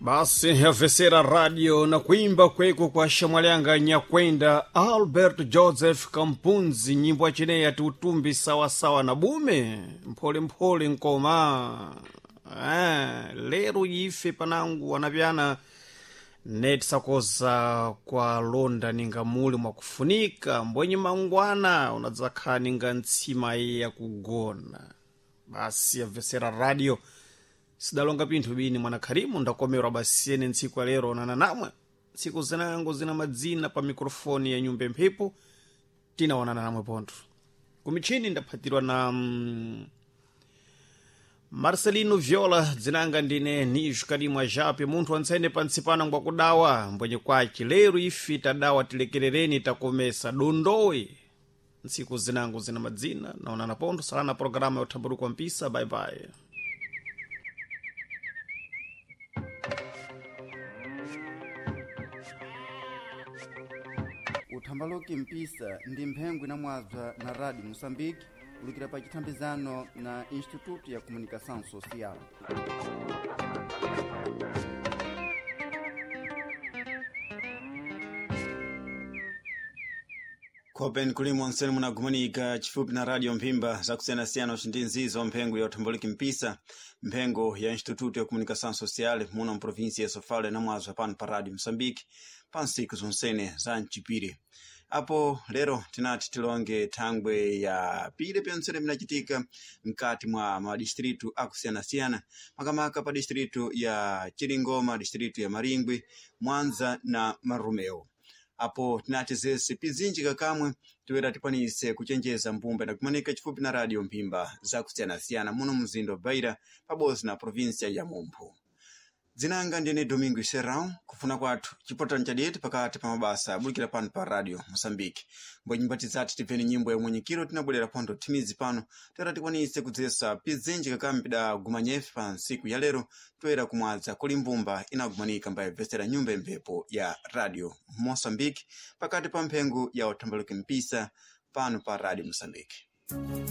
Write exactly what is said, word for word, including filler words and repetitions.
Basi yavesera radio na kuimba kweko kwa shamwalyanga nyakwenda Albert Joseph Kampunzi, nyimbo achineyi ati utumbi sawasawa na bume mpholemphole nkoma. Eh, lero ife panangu wanapyana netisakoza kwa londa ninga muli mwakufunika mbwenye mangwana unadzakhala ninga ntsima iye yakugona. Basi yavesera radio sidalonga pinthu bini mwana kharimu ndakomerwa basiyene ntsiku ya lero onana namwe ntsiku zinango zina madzina pa mikrofoni ya nyumba mphepo tinaonana namwe pontho kumichini ndaphatirwa na mm, Marcelino Viola dzinanga ndine Nijo Kalimwa Jape munthu wantsene pantsipano ngwakudawa mbwenye kwaci lero ife tadawa tilekerereni takomesa dondowe ntsiku zinango zina madzina naonana pontho salana programa ya uthambaluko mpisa bye bye. Uthambaluki mpisa ndi mphengo inamwabza na Radio Moçambique ulukira pa chithambizano na Instituto ya Comunicação Social. Khopen kulimo nsene munagumanika chifupi na radio mphimba zakusiyanasiyana ndi nzizo mphengo ya uthambaliki mpisa mphengo ya Instituto ya Comunicação Social muno mprovinsia ya Sofala inamwazwa pano pa radio Moçambique pa ntsiku zonsene za mchipiri. Apo lero tinati tilonge thangwe ya pile pyontsene pinachitika mkati mwa madistritu akusiyanasiyana makamaka pa distritu ya Chiringoma, distritu ya Maringwi, Mwanza na Marumeo. Apo tinati zese pizinji kakamwe toera tikwanise kuchenjeza mbumba inakumanika chifupi na radio mphimba zakusiyanasiyana muno mzinda wa Beira pabodzi na provinsia ya Mumphu. Dzinanga ndine Domingo Serrão kufuna kwathu chipotano chadete pakati pa mabasa abulikira pano pa radio Moçambique. Mbwe nyumba tizati tipeni nyimbo ya mwenyekiro tinabwerera pontho thimizi pano toera tikwanise kudzesa pizinji kakamwe pidagumanyefe pa ntsiku ya lero toera kumwadza kuli mbumba inagumanika mbayibvesera nyumba imphepo ya radio Moçambique pakati pa mphengo ya uthambaluki mpisa pano pa radio Moçambique.